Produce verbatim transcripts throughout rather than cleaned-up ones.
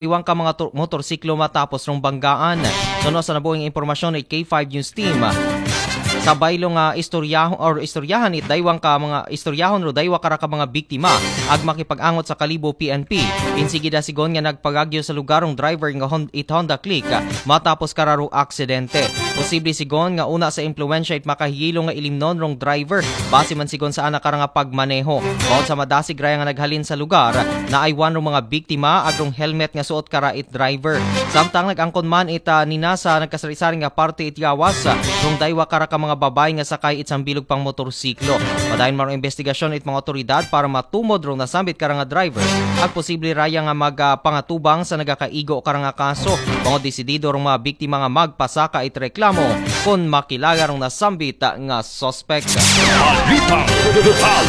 iwang ka mga tur- motorsiklo matapos rong banggaan. Suno sa nabuhing impormasyon it K five News Team, sa baylo nga istoryahon or istoryahan it daywang ka mga istoryahon ro daywa kara ka mga biktima ag makipag-angot sa Kalibo P N P. Insigida sigon nga nagpagagyo sa lugar rong driver nga Hon- it Honda Click matapos kara ro aksidente. Posible sigon nga una sa impluwensya it makahiyilo nga ilimnon rong driver base man sigon sa ana kara nga pagmaneho. Bangod sa madasig raya nga naghalin sa lugar, naaywan rong mga biktima ag rong helmet nga suot kara it driver. Samtang nag-angkon man it, ah, nina sa nagkasari-sari nga parte it gawas, ah, rong daywa kara ka mga babay nga sakay it sambilog pang motorsiklo. Padayon man rong investigasyon it mga otoridad para matumod rong nasambit kara nga driver ag posible raya nga magpangatubang sa nagakaigo kara nga kaso. Bangod desidido rong mga biktima nga magpasaka it reklamo kon makilala rong nasambit nga suspect. Balitang lokal.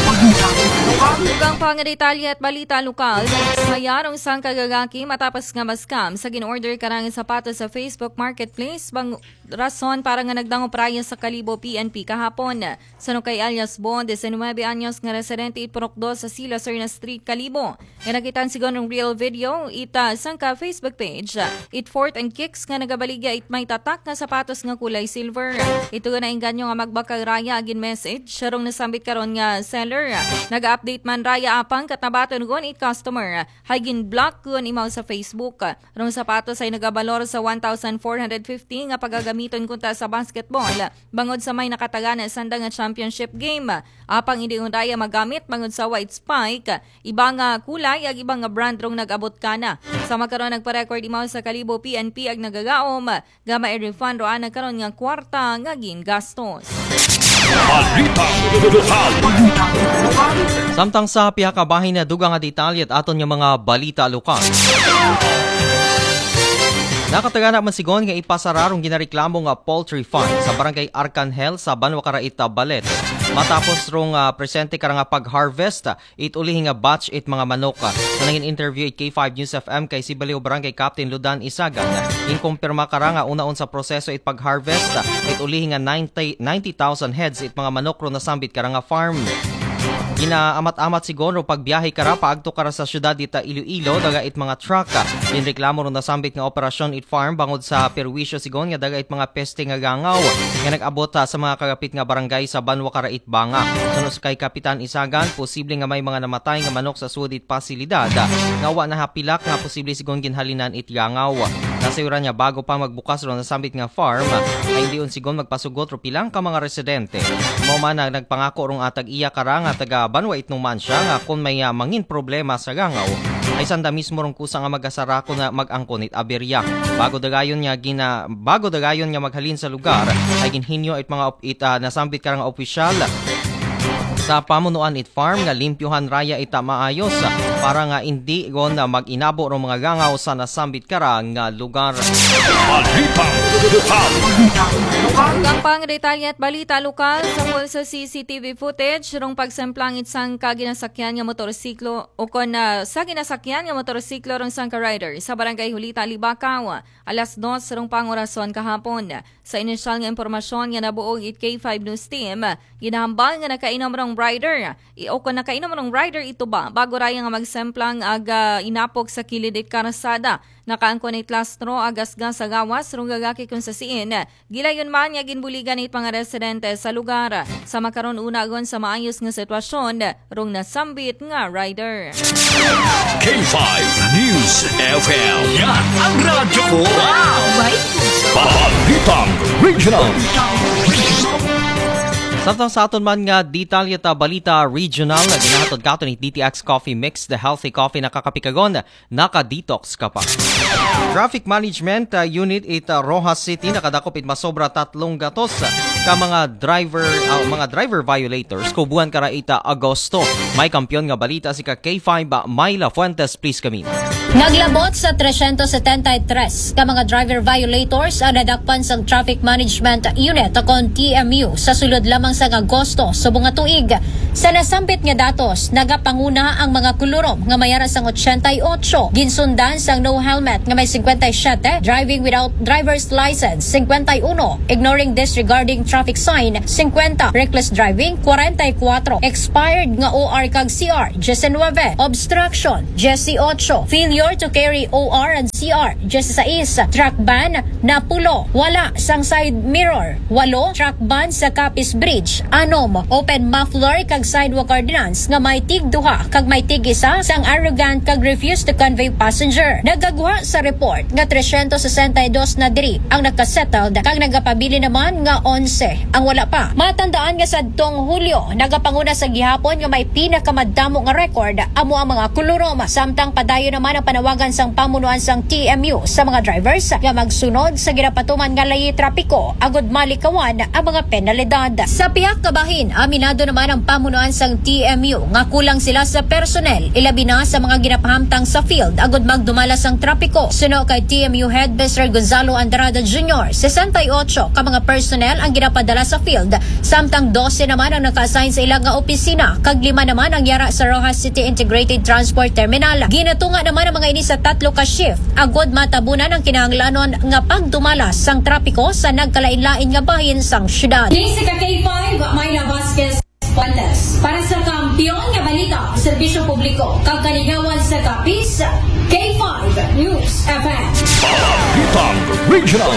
Dugang pa nga detalye at balita lokal, nagsaya rong sangka gagaki matapos nga maskam sa gin-order karang sapatos sa Facebook Marketplace bang rason para nga nagdangop raya sa Kalibo P N P kahapon. Suno kay alias Bon, diecinuebe anyos nga residente it Purok dos sa Sila Serna Street, Kalibo, nga nakit-an sigon rong real video it sangka Facebook page, it Fort and Kicks nga nagabaligya it may tatak nga sapatos nga kulay silver. Ito nga nainganyo nga magbakal raya ag gin-message rong nasambit karon nga seller. Nag-update man raya apang ket nabaton gon it customer hay gin-block kon imaw sa Facebook. Rong sapatos ay nagabalor sa one thousand four hundred fifty nga pagagamiton kunta sa basketball bangod sa may nakatagana sanda nga championship game. Apang indi raya magamit bangod sa white spike, iba nga kulay ag iba nga brand rong nag-abot kana. Sama karon nagpa-record imaw sa Kalibo P N P ag nagagaom nga ma-refund ro ana karon nga kwarta nga gingastos. Balitang lokal. Samtang sa pihaka bahin na dugang nga detalye at aton nga mga balita lokal. Nakatagana man sigon nga ipasara rong ginareklamo nga poultry farm sa Barangay Arcangel sa Banwa Karaita, Balete. Matapos rong, ah, presente kara nga pag-harvest, ah, it ulihi nga batch it mga manok. Sa nangin interview it K five News F M kay si Baliw Barangay Captain Ludan Isagan, inkumpirma kara nga unaon sa proseso it pag-harvest it ulihi nga ninety, ninety thousand heads it mga manok ro nasambit kara nga farm. Ginaamat-amat sigon ro pagbiyahe kara paagto kara sa syudad dita Iloilo, daga it mga truck. Ginreklamo ro nasambit nga operasyon it farm bangod sa perwisyo sigon nga daga it mga peste nga gangaw nga nag-abot, ah, sa mga kagapit nga barangay sa Banwa Karaita, Banga. Suno kay Kapitan Isagan, posible nga may mga namatay nga manok sa sud it pasilidad, ah, nga wa nahapilak nga posible sigon ginhalinan it gangaw. Nasayuran niya bago pa magbukas ro nasambit nga farm, ah, ay diyon sigon magpasugot ro pilang ka mga residente. Mao man na nagpangako rong atag iya kara nga taga Banwa Itnuman siya nga kon may, ah, mangin problema sa gangaw, ay sanda mismo rong kusa nga magasara kon na mag-angkon it aberya. Bago dagayon nga gina-, bago dagayon nga maghalin sa lugar, ay ginhinyo it mga op-, it, ah, nasambit kara nga opisyal sa pamunuan it farm nga limpyuhan raya ita maayos para nga indi gon na mag-inabo rong mga gangaw sa nasambit kara nga lugar. Balitang lokal. Dugang pa nga detalye at balita lokal, sangol sa C C T V footage rong pagsemplang it sangka ginasakyan nga motorsiklo o kon, ah, sa ginasakyan nga motorsiklo rong sangka rider sa Barangay Hulita, Libacao, alas dos rong pangorason kahapon. Sa inisyal nga impormasyon nga nabuog it K five News Team, ginahambal nga nakainom rong rider i-, o kon nakainom rong rider ito ba, bago raya nga magsemplang ag, ah, inapok sa kilid it karsada. Nakaangkon it lastro ag gasgas sa gawas rong gagaki kon sa siin. Gilayon man nga ginbuligan it mga residente sa lugar. Sa makaron, unagon sa maayos nga sitwasyon rong nasambit nga rider. K five News F M. Yan ang radyo ko. Wow! Balitang Regional. Samtang sa aton man nga detalye ta balita regional, nga ginahatod katon ni D T X Coffee Mix, the healthy coffee nakakapikagon, naka-detox ka pa. Traffic Management, ah, Unit it, ah, Roxas City nakadakop it masobra tatlong gatos ka mga driver, ah, mga driver violators kubuan kara ita Agosto. May kampiyon nga balita si ka K five, ah, Myla Fuentes, please kami. Naglabot sa tresyentos setenta y tres ka mga driver violators ang nadakpan sang Traffic Management Unit o kon T M U sa sulod lamang sang Agosto subong nga tuig. Sa nasambit nga datos, nagapanguna ang mga kulurom nga may ara sang ochenta y ocho, ginsundan sang no helmet nga may cincuenta y siete, driving without driver's license cincuenta y uno, ignoring disregarding traffic sign cincuenta, reckless driving cuarenta y cuatro, expired nga O R kag C R diecinueve, obstruction dieciocho, failure door to carry O R and C R, diyesisais. Truck ban, napulo. Wala sang side mirror, walo. Truck ban sa Capiz Bridge, anom. Open muffler kag sidewalk ordinance nga may tig duha kag may tig isa sang arrogant kag refuse to convey passenger. Nagaguha sa report nga tresyentos sesenta y dos na diri ang nakasettled kag nagapabilin naman nga onse ang wala pa. Matandaan nga sadtong Hulyo, nagapanguna sa gihapon nga may pinakamadamo nga record amo ang mga kulurom, samtang padayon naman ang panawagan sang pamunuan sang T M U sa mga drivers nga magsunod sa ginapatuman nga layi trapiko agud malikawan ang mga penalidad. Sa pihak nga bahin, aminado naman ang pamunuan sang T M U nga kulang sila sa personnel, ilabi na sa mga ginapahamtang sa field agud magdumala sang trapiko. Suno kay T M U head Mister Gonzalo Andrada Junior, sesenta y ocho ka mga personnel ang ginapadala sa field, samtang dose naman ang naka-assign sa ila nga opisina, kag lima naman ang yara sa Roxas City Integrated Transport Terminal. Ginatunga naman ang mga ini sa tatlo ka shift agud matabunan ang kinahanglanon nga pagdumala sang trapiko sa nagkalain-lain nga bahin sang syudad. Jessica K five, Myla Vasquez Fuentes. Para sa Kampiyon nga Balita, Serbisyo Publiko, kag Kalingawan sa Capiz, K five News F M. Balitang Regional.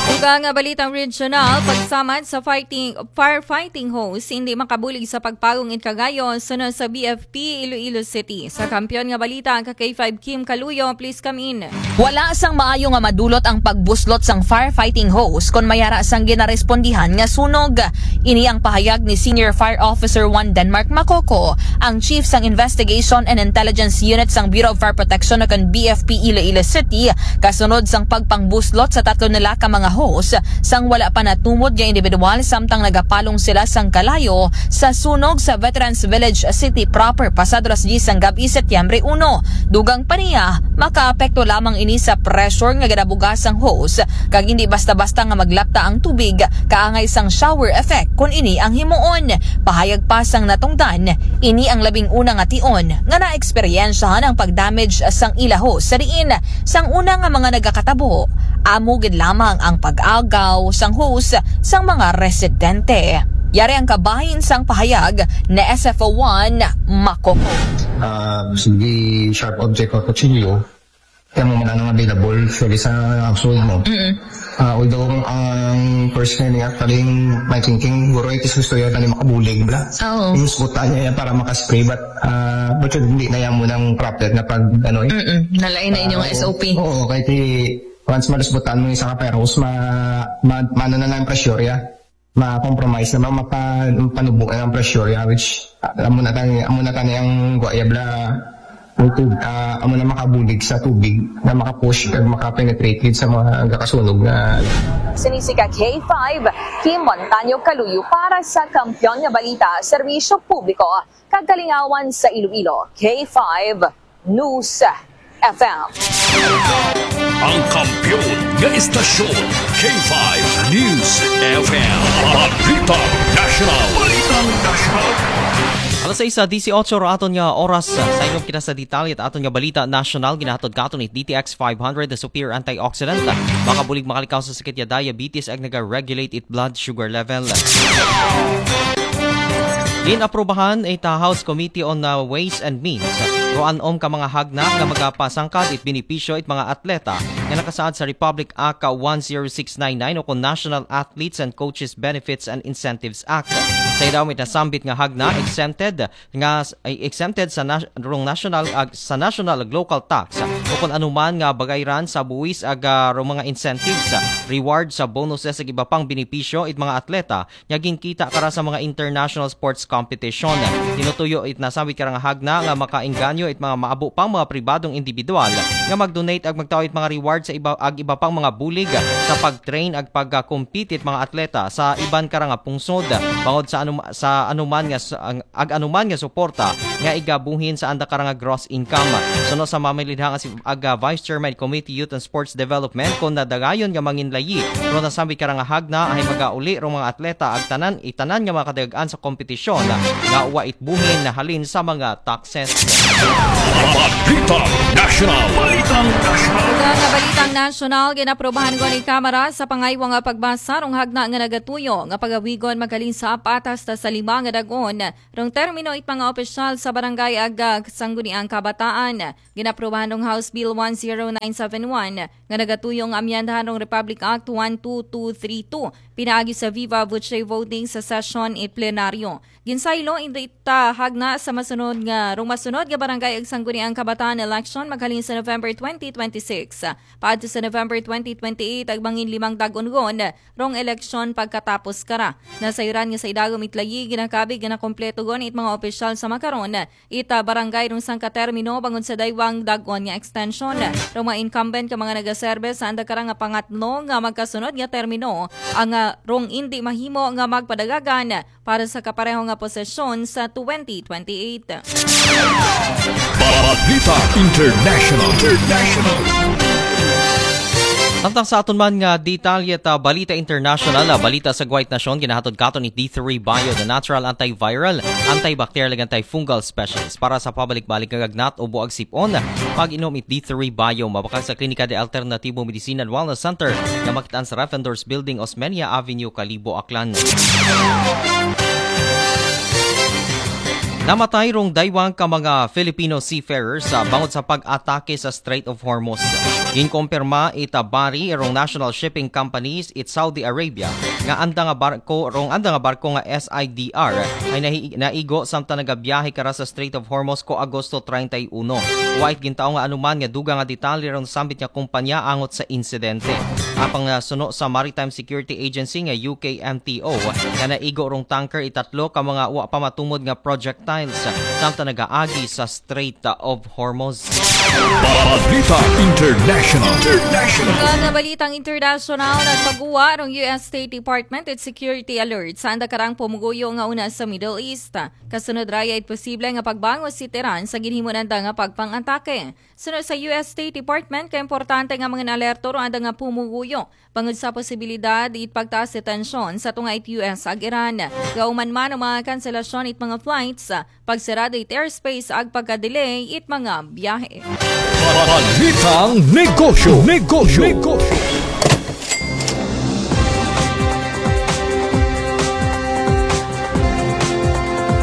Dugang nga balitang regional, pagsamad sa fighting, firefighting hose, hindi makabulig sa pagpalong in Cagayan, suno sa B F P Iloilo City. Sa Kampiyon nga Balita, ang ka K five Kim Kaluyo, please come in. Wala sang maayo nga madulot ang pagbuslot sang firefighting hose kon may ara sang ginarespondihan nga sunog. Ini ang pahayag ni Senior Fire Officer one Denmark Macoco, ang Chief sang Investigation and Intelligence Unit sang Bureau of Fire Protection o kon B F P Iloilo City, kasunod sang pagpangbuslot sa tatlo nila ka mga hose sang wala pa natumod nga individual, samtang nagapalong sila sang kalayo sa sunog sa Veterans Village City proper pasado alas diyes sang gab-i, Setyembre uno. Dugang pa niya, makaapekto lamang ini sa pressure nga ginabuga sang hose, kag hindi basta-basta nga maglapta ang tubig, kaangay sang shower effect kon ini ang himuon. Pahayag pa sang natungdan, ini ang labing una nga tion nga naeksperyensyahan ang pag-damage sang ila hose, sa diin sang una nga mga nagakatabo, amo gid lamang ang pag-agaw sang hose sang mga residente. Yari ang kabahin sang pahayag ni S F O one Macoco. Ah, sige, sharp object or kutsilyo. Kaya mo man ang available, pwede sa household mo. Ah, although ang, ang first nga niya, actually, my thinking, guro, it is gusto yun, tali makabulig, bla. Oo. Yung sbutan niya yan para makaspray, but, ah, but yun, hindi na yan munang proper na pag, ano, eh. Mm-mm. Nalain na inyong Ah, S O P. Oo, kahit i-, once malusbutan mo yung isa ka fire hose, ma-, ma-, maano na lang ang pressure, ya. Ma-compromise na, ma-, mapa-, mapanubo na ang pressure, ya, which, ah, amo na tani, amo na tani ang guwaya, bla. Ang tub-, ah, amo na makabulig sa tubig na makapush kag makapenetrate gid sa mga gakasunog nga. Sinisika K five, Kim Montaño Kaluyo para sa Kampiyon nga Balita, Serbisyo Publiko, kag Kalingawan sa Iloilo, K five News F M. Ang kampiyon nga istasyon, K five News F M. Balitang Nasyonal. Balitang Nasyonal. Alas sais disiotso ra aton nga oras. Sa inyong kita sa detalye at aton nga balita nasyonal, ginahatod katon it D T X five hundred, the superior antioxidant. Makabulig makalikaw sa sakit ya diabetes ag naga-regulate it blood sugar level. Ginaprubahan it, uh, House Committee on, uh, Ways and Means, ruan-om ka mga hagna nga magapasangkad it benepisyo it mga atleta nga nakasaad sa Republic Act one zero six nine nine o kon National Athletes and Coaches Benefits and Incentives Act. Sa idawom it nasambit nga hagna, exempted nga s-, ay exempted sa nas-, rong national ag-, sa national ag local tax o kon anuman nga bagayran sa buwis ag, ah, rong mga incentives, reward sa bonuses ag iba pang benepisyo it mga atleta nga ginkita kara sa mga international sports competition. Tinutuyo it nasambit kara nga hagna nga makaengganyo it mga maabo pang mga pribadong individual nga mag-donate ag magtao it mga reward sa iba, ag iba pang mga bulig sa pag-train ag pag-compete it mga atleta sa iban kara nga pungsod bangod sa anum-, sa anuman nga s-, ang, ag anuman nga suporta nga igabuhin sa anda kara nga gross income. Suno sa mamilidha nga si ag, ah, Vice Chairman Committee Youth and Sports Development, kon nadagayon nga manginlayi ron nasambit kara nga hagna, ahay magauli rong mga atleta ag tanan, itanan nga mga kadagan sa kompetisyon nga wa it buhin halin sa mga taxes. Balitang Nasyonal. Balitang Nasyonal. Ug ang balita Nasyonal, ginaprobahan ko ni Kamara sa pangaywa nga pagbasa rong hagna nga nagatuyo nga pagawigon maghalin sa apat hasta sa lima nga dag-on rong termino it mga opisyal sa barangay ag, ah, Sangguniang Kabataan. Ginaprobahan rong House Bill one zero nine seven one nga nagatuyo nga amyendahan rong Republic Act one two two three two pinaagi sa viva voce voting sa session it plenaryo. Ginsaylo indi ta hagna sa masunod nga, rong masunod nga barangay ag Sangguniang Kabataan election maghalin sa November twenty twenty-six. Paadto sa November twenty twenty-eight, ag mangin limang dag-on gon rong eleksyon pagkatapos kara. Nasayran nga sa idagom it layi, ginakabig nga nakompleto gon it mga opisyal sa makaron ita barangay rong sangka termino bangod sa daywang dag-on nga extension. Rong mga incumbent ka mga nagaserbe sa anda kara nga pangatlo nga magkasunod nga termino ang, ah, rong indi mahimo nga magpadagagan para sa kapareho nga posisyon sa twenty twenty-eight. Balita International. International. Samtang sa aton man nga detalye ta balita international, ah, balita sa Guwait Nasyon, ginahatod katon ni D three Bio, the natural antiviral, antibacterial, ug antifungal specialist. Para sa pabalik-balik nga gagnat o buag sip-on, pag-inom it D three Bio, mabakal sa Klinika de Alternativo Medicina and Wellness Center, nga makitaan sa Refendors Building, Osmeña Avenue, Kalibo, Aklan. Namatay rong daywang ka mga Filipino seafarers sa bangod sa pag-atake sa Strait of Hormuz. Ginkompirma ita Bari rong National Shipping Companies it Saudi Arabia nga anda nga barko, rong anda nga barko nga S I D R ay nahi-, naigo samtang nagabiyahe kara sa Strait of Hormuz ko Agosto treinta y uno. Wa it gintao nga anuman nga dugang nga detalye rong sambit nga kumpanya angot sa insidente. Apang, ah, suno sa Maritime Security Agency nga U K M T O, nga naigo rong tanker itatlo ka mga wa pa matumod nga projectiles samtang nagaagi sa Strait of Hormuz. Balita International. International. Mga balitang internasyonal, nagpaguwa rong U S State Department it security alert sa anda karang pumuguyo nga una sa Middle East. Kasunod raya it posible nga pagbangos it Iran sa ginhimo nanda nga pagpang-atake. Suno sa U S State Department, ka importante nga mga alerto rong anda nga pumuguyo bangod sa posibilidad it pagtaas sa tensyon sa tunga it U S ag Iran. Gauman man ang mga kanselasyon it mga flights, pagsarado it airspace ag pagka-delay it mga biyahe. Balitang negosyo. Negosyo. Negosyo.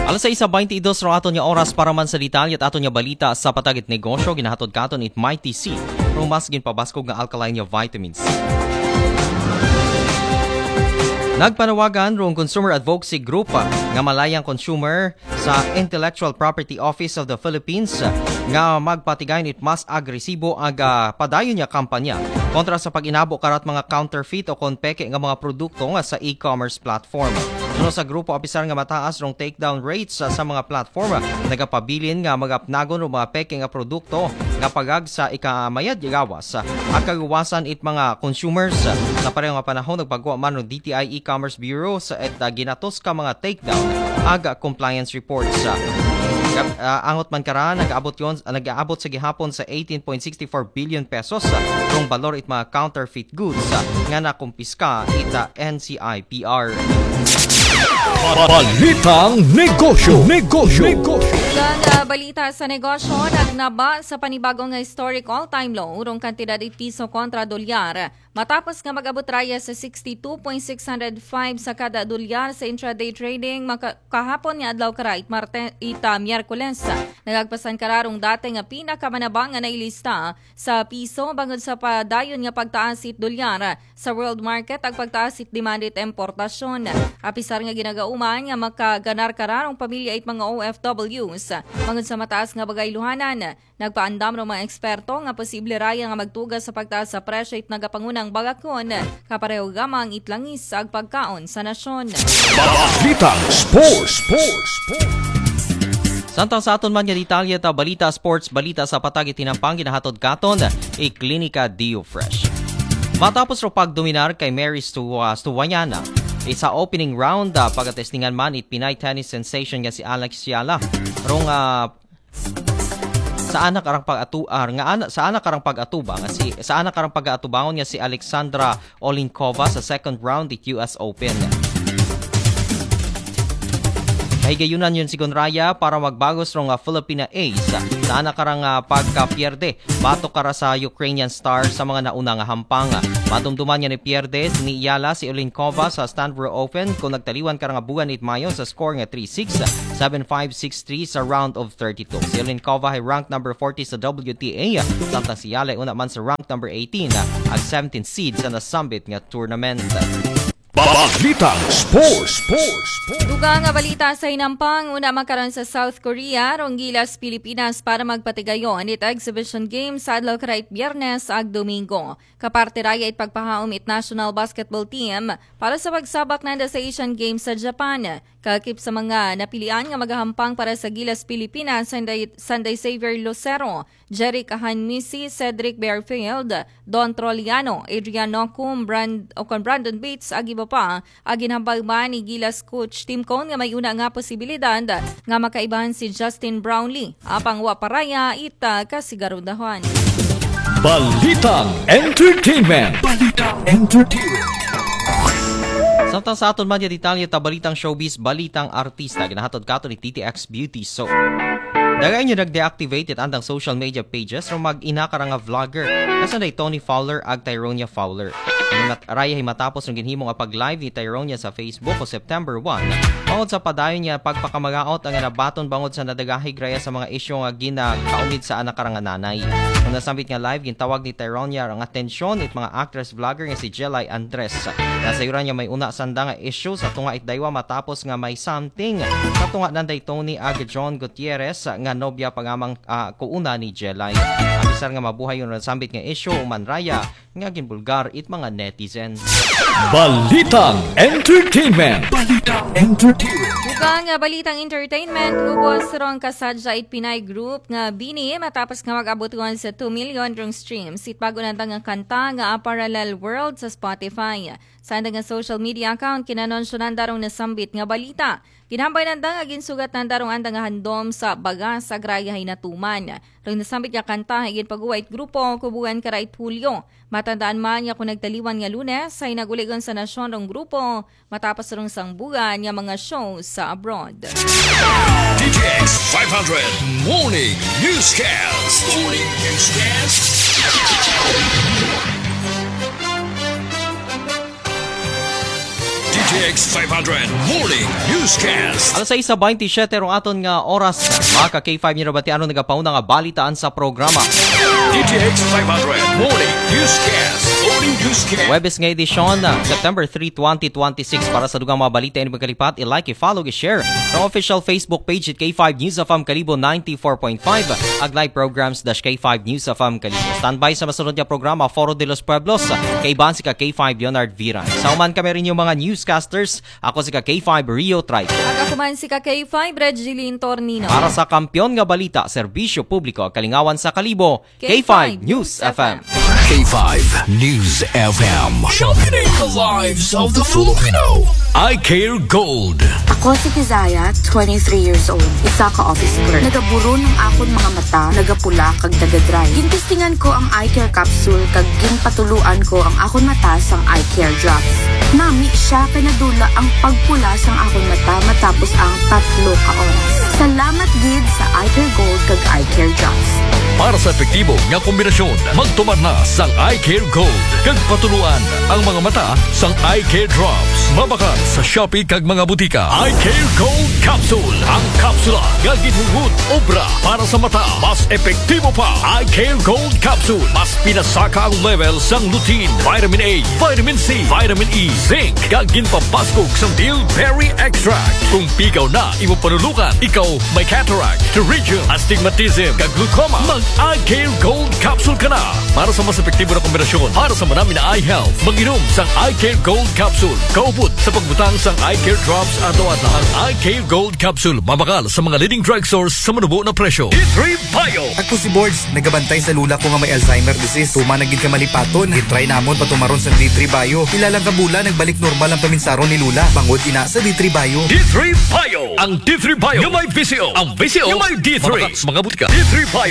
Alas sais baynte dos rong aton nga oras para man sa detalye it aton nga balita sa patag it negosyo, ginahatod katon it Mighty C, rong mas ginpabaskog nga alkaline nga vitamins. Nagpanawagan rong Consumer Advocacy Group nga malayang consumer sa Intellectual Property Office of the Philippines nga magpatigayon it mas agresibo ag, ah, padayon nga kampanya kontra sa pag-inabo karat mga counterfeit o kon peke nga mga produkto nga sa e-commerce platform. Suno sa grupo, apisar nga mataas rong takedown rates sa, sa mga platform, nagapabilin nga magapnagon rong mga peke nga produkto nga pagag sa ikamayad gawas ag kaluwasan it mga consumers. Sa pareho nga panahon, nagpagwa man rong D T I E-Commerce Bureau sa et, ah, ginatos ka mga takedown ag compliance reports. Ah, angot man kara, nag-abot yon, ah, nag-aabot sa gihapon sa eighteen point sixty-four billion pesos, ah, rong balor it mga counterfeit goods, ah, nga nakumpiska ita N C I P R. Balitang negosyo. Negosyo. Negosyo. Ilang, ah, balita sa negosyo, nagnaba sa panibagong historic all-time low rong kantidad it piso kontra dolyar. Matapos nga mag-abot raya sa sixty-two point six hundred five sa kada dolyar sa intraday trading maka-, kahapon nga adlaw kara it Marte-, ita Miyerkules. Nagagpasan kara rong dati nga pinakamanaba nga nailista sa piso bangod sa padayon nga pagtaas it dolyar sa world market ag pagtaas it demand it importasyon. Apisar nga ginagauman nga makaganar kara rong pamilya it mga O F Ws bangod sa mataas nga bagayluhanan. Nagpaandam rong mga eksperto nga posible raya nga magtuga sa pagtaas sa presyo it nagapangunang bagakon, kapareho gamang it langis ag pagkaon sa nasyon. Balitang sports. Sports. Sports. Samtang sa aton man nga detalye ta balita sports, balita sa patag it tinampang, ginahatod katon i Klinika Dio Fresh. Matapos rong pagdominar kay Mary Stu-, ah, Stuwayana, isa opening round, ah, pagatestingan man it Pinay tennis sensation nga si Alex Yala. Rong, ah, sa anak arang pag-atu-, ah, nga ana-, sa anak arang pag-atubang nga si, sa anak arang pag-atubangon nga si Alexandra Olinkova sa second round it U S Open. Higayunan yun, sigun raya, para magbagos rong, ah, Filipina Ace sa ana karang, ah, pagkapierde batok kara sa Ukrainian Star sa mga nauna nga hampang. Madumduman nga nipierde ni Yala si Olinkova sa Stanbro Open kon nagtaliwan kara nga buwan it Mayo sa score nga three six, seven five, six three sa round of thirty-two. Si Olinkova hay rank number forty sa W T A, samtang si Yala una man sa rank number eighteen, ag seventeen seed sa nasambit nga tournament. Balitang Sports. Dugang nga balita sa hinampang, una makaron sa South Korea, rong gilas Pilipinas para magpatigayon it Exhibition Games sa adlaw karait Biyernes ag Domingo. Kaparte raya it pagpahaom it national basketball team para sa pagsabak nanda sa Asian Games sa Japan. Kakip sa mga napilian nga magahampang para sa gilas Pilipinas, Sunday, Sunday Xavier Lucero, Jeric Hanmisi, Cedric Bearfield, Don Troliano, Adrian Nocum, Brand, o kon Brandon Bates, ag iba pa, ag ginhambal man ni Gilas coach Tim Cone nga may una nga posibilidad nga makaibahan si Justin Brownlee. Apang wa paraya ita kasigarudahan. Balitang Entertainment. Balitang Entertainment. Samtang sa aton man nga detalye ta balitang showbiz, balitang artista, ginahatod kato ni T T X Beauty. So, daghan nga nag-deactivate it andang social media pages rong mag-ina kara nga vlogger nga sanday Tony Fowler ag Tyronia Fowler. Raya hi matapos rong ginhimo nga pag-live ni Tyronia sa Facebook o September one, bangod sa padayon nga pagpakamagaot ang nabaton bangod sa nadagahig raya sa mga isyu nga ginakaumid sa ana kara nga nanay. Kon nasambit nga live, gintawag ni Tyronia ang atensyon it mga actress vlogger nga si Jelay Andres. Nasayuran nga may una sanda nga isyu sa tunga it daywa matapos nga may something sa tunga nanday Tony ag John Gutierrez nga nobya pa nga mang, ah, kuuna ni Jelay. Abisar nga mabuhay kon nasambit nga isyu, human raya nga ginbulgar it mga netizens. Balitang Entertainment. Balitang Entertainment. Dugang nga balitang entertainment, ubos rong kasadya it Pinay group nga BINI matapos nga mag-abot sa two million rong streams it bag-o nanda nga kanta nga A Parallel World sa Spotify. Sa anda nga social media account, kinanunsyo nanda rong nasambit nga balita. Ginhambal nanda nga ginsugat nanda rong anda nga handom sa bagas ag raya hay natuman. Rong nasambit nga kanta hay ginpag-uwa it grupo kubugan karait Hulyo. Matandaan man nga kon nagtaliwan nga Lunes hay nag-uli kon sa nasyon rong grupo matapos rong sangbugan nga mga show sa abroad. D T X five hundred Morning Newscast. Morning Newscast. D T X five hundred Morning Newscast. Alas sais sa baynte siyete rong aton nga oras. Mga ka K five, niyo nabatian rong nagapauna nga balitaan sa programa. D T X five hundred Morning Newscast. Morning Newscast. Huwebes nga edisyon, ah, September three, twenty twenty-six. Para sa dugang mga balita ini magkalipat, i-like, i-follow, i-share ang official Facebook page it K five News F M Kalibo ninety-four point five, ag live programs dash K five News F M Kalibo. Standby sa masunod nga programa, Foro de los Pueblos. Kaiban si ka K five Leonard Viran. Sa uman kami rin yung mga newscasters, ako si ka K five Rio Trico. Ag ako man si ka K five Regilin Tornino. Para sa kampiyon nga balita, serbisyo publiko, kalingawan sa Kalibo, K five News F M. K five News F M. Sharpening the lives of the Filipino. Eye Care Gold. Ako si Kizaya, twenty-three years old, isa ka office clerk. Nagaburo ng akon mga mata, nagapula kag nagadry. Gintistingan ko ang eye care capsule kag ginpatuluan ko ang akon mata sang eye care drops. Nami siya kay nadula ang pagpula sang akon mata matapos ang tatlo ka oras. Salamat gid sa Eye Care Gold kag Eye Care Drops. Para sa epektibo nga kombinasyon, magtumar na sang Eye Care Gold kag patuluan ang mga mata sang Eye Care Drops. Mabakal sa Shopee kag mga butika. Eye Care Gold Capsule, ang kapsula nga ginhunhud obra para sa mata. Mas epektibo pa. Eye Care Gold Capsule, mas pinasaka ang level sang lutein, vitamin A, vitamin C, vitamin E, zinc, kag ginpapaskog sang bilberry extract. Kung pigaw na imo panulukan, ikaw may cataract, pterygium, astigmatism, kag glaucoma, mag Eye Care Gold Capsule ka na. Para sa mas epektibo na kombinasyon para sa manami na eye health, mag-inom sang Eye Care Gold Capsule kaupod sa pagbutang sang Eye Care Drops adlaw-adlaw. Ang Eye Care Gold Capsule mabakal sa mga leading drugstores sa manubo na presyo. D three Bio. Ako si Bords, nagabantay sa lula ko nga may Alzheimer disease. Tuman na gid ka malipaton. Gitry namon patumaron sa D three Bio. Pila lang ka bulan, nagbalik normal ang paminsaron ni lula. Bangod ina sa D three Bio. D three Bio. Ang D three Bio nga may V C O. Ang V C O nga may D three. Mabakal sa mga butika. D three Bio.